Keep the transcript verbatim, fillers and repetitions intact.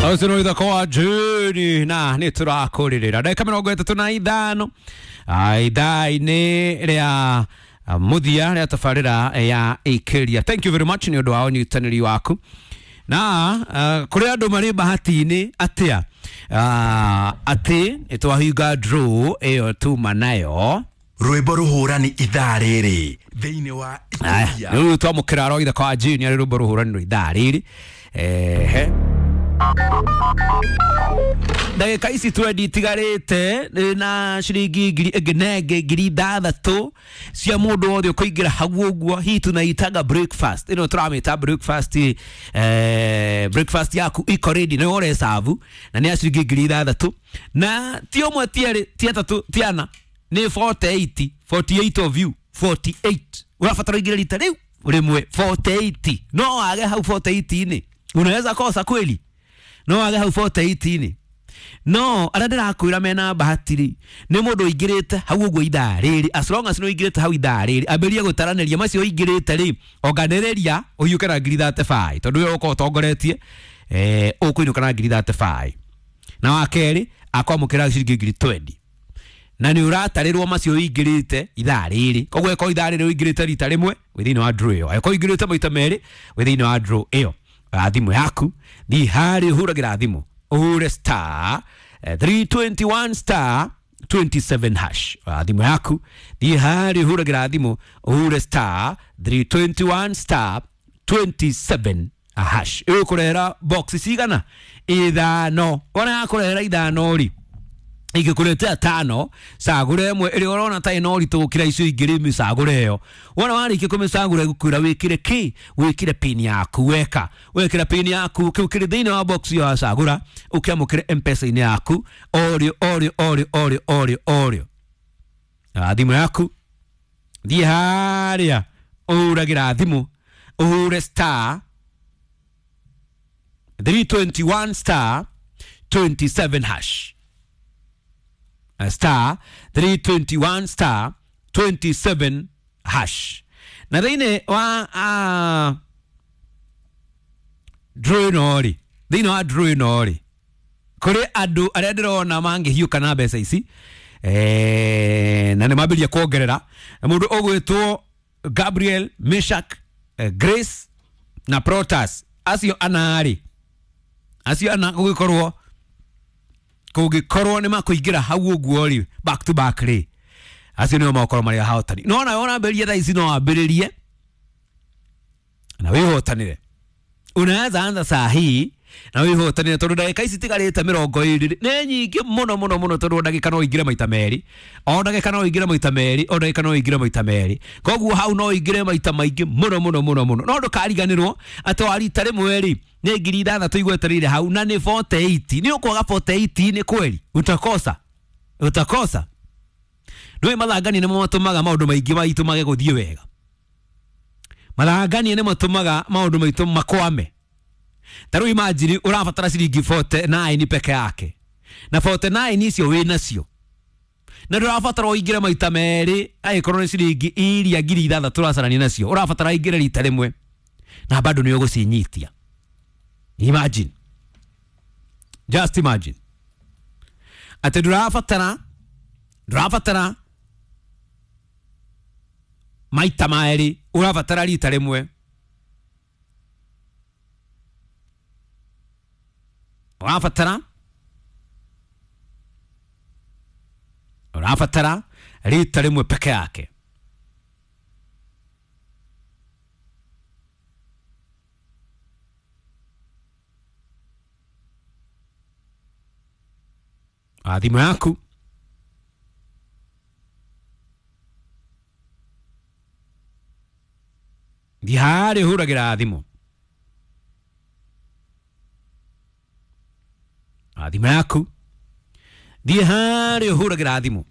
Ũcio nĩ ithako wa Juni na nĩ tũrakũrĩrĩra ndagĩka mĩrongo ĩtatũ na ithano ithaa-inĩ rĩa mũthia rĩa tabarĩra ya Ĩkĩria. Thank you very much nĩ ũndũ wa ũnyitanĩri waku na uh, kũrĩ andũ marĩ bahati-inĩ atĩa uh, atĩ nĩ twahinga draw ĩyo tuma nayo rwĩmbo rũhũrani ithaa rĩrĩ thĩinĩ wa Aya, rĩu twamũkĩra ro ithako wa Juni arĩ rwĩmbo rũhũrani rwa ithaa rĩrĩ ehe ndagĩka ici twendi itigarĩte na ciringi ngiri ĩngĩ na ĩngĩ ngiri ithathatũ cia mũndũ wothe ũkũingĩra hau ũguo. Hii tunaitaga breakfast, ĩno tũramĩta breakfast. eh, breakfast yaku iko ready nĩwe ũrecabu na nĩ ya ciringi ngiri ithathatũ na ti ũmwe ti erĩ ti atatũ ti ana nĩ forty-eight, forty-eight of you, forty-eight ũrabatara ũingĩre rita rĩu rĩmwe forty-eight. No wage hau forty-eight inĩ, unaweza kosa kweli, no wage hau forty-eight inĩ. No arĩa ndĩrakwĩra mena bahati rĩ nĩ mũndũ ũingĩrĩte hau ũguo ithaa rĩrĩ. As long as nĩ ũingĩrĩte hau ithaa rĩrĩ, ambĩrĩria gũtaranĩria macio ũingĩrĩte rĩ, onganĩrĩria ũhiũke na ngiri thirty-five tondũ we ũkorwo ũtongoretie eh, ũkũinũka na ngiri thirty-five na wa kerĩ akwamũkĩra ciringi ngiri twenty na nĩ ũratarĩrwo macio ũingĩrĩte ithaa rĩrĩ. Koguo ĩkorwo ithaa rĩrĩ ũingĩrĩte rita rĩmwe, wĩ thĩinĩ wa draw ĩyo. Angĩkorwo ũingĩrĩte maita merĩ, wĩ thĩinĩ wa draw ĩyo. Oya thimũ yaku, thiĩ harĩa ũhũragĩra thimũ, ũhũre star eh, three twenty-one star twenty-seven hash. Oya thimũ yaku, thiĩ harĩa ũhũragĩra thimũ, ũhũre star three twenty-one star twenty-seven hash. Ĩgũkũrehera box cigana? Ithano. Wona yakũrehera ithano rĩ, ingĩkũretea tano, cagũra ĩmwe ĩrĩa ũrona ta ĩna ũritũ gũkĩra icio ingĩ rĩ, mĩcagũre ĩyo. Wona warĩkia kũmĩcagũra, ĩgũkwĩra wĩkĩre kĩ? Wĩkĩre pin yaku. Weka wekĩra pin yaku, kĩu kĩrĩ thĩinĩ wa box ĩyo wacagũra, ũkĩamũkĩre M-Pesa-inĩ yaku orĩo orĩo orĩo orĩo orĩo orĩo. Na thimũ yaku, thiĩ harĩa ũhũragĩra thimũ, ũhũre star three twenty-one star twenty-seven hash, star three twenty-one star twenty-seven hash. Na thĩinĩ wa uh, draw ĩno rĩ, thĩinĩ wa draw ĩno rĩ, kũrĩ andũ arĩa ndĩrona mangĩhiũka na mbeca ici eh, na nĩ mambĩrĩria kuongerera. Mũndũ ũgwĩtwo Gabriel, Meshak, eh, Grace na Protas, acio ana rĩ, acio ana gũgĩkorwo kũngĩkorwo nĩ makũingĩra hau ũguo rĩ back to back rĩ, acio nĩo magũkorwo marĩ ahotani. No nawe ũrambĩrĩria thaa ici, no wambĩrĩrie na wĩhotanĩre. Unaweza anza saa hii na wĩhotanĩre tondũ ndagĩka ici tigarĩte mĩrongo ĩrĩ nĩ nyingĩ mũno mũno mũno, tondũ ndagĩka no ũingĩre maita merĩ, o ndagĩka no ũingĩre maita merĩ, o ndagĩka no ũingĩre maita merĩ. Koguo hau no ũingĩre maita maingĩ mũno mũno mũno mũno. No ndũkariganĩrwo atĩ wa rita rĩmwe rĩ nĩ ngiri ithathatũ igwetereire hau na nĩ forty-eight. Nĩ ũkwaga forty-eight nĩ kweli, utakosa, utakosa. Ndũĩ mathangania nĩmo matũmaga maũndũ maingĩ maitũ mage gũthiĩ wega. Mathangania nĩ matũmaga maũndũ maitũ makwame. Ta rĩu imagine ũrabatara ciringi forty-nine peke yake na forty-nine icio wĩ nacio na ndũrabatara ũingĩre maita merĩ. Angĩkorwo nĩ ciringi iria ngiri ithathatũ ũracarania nacio, ũrabatara ingĩre rita rĩmwe na bado nĩ ũgũcinyitia. Imagine, just imagine atĩ ndũrabatara ndũrabatara maita merĩ, ũrabatara rita rĩmwe. ũrabatara ũrabatara rita rĩmwe peke yake. Ah, thimũ yaku, thiĩ harĩa ũhũragĩra thimũ. Ah, thimũ yaku, thiĩ harĩa ũhũragĩra thimũ.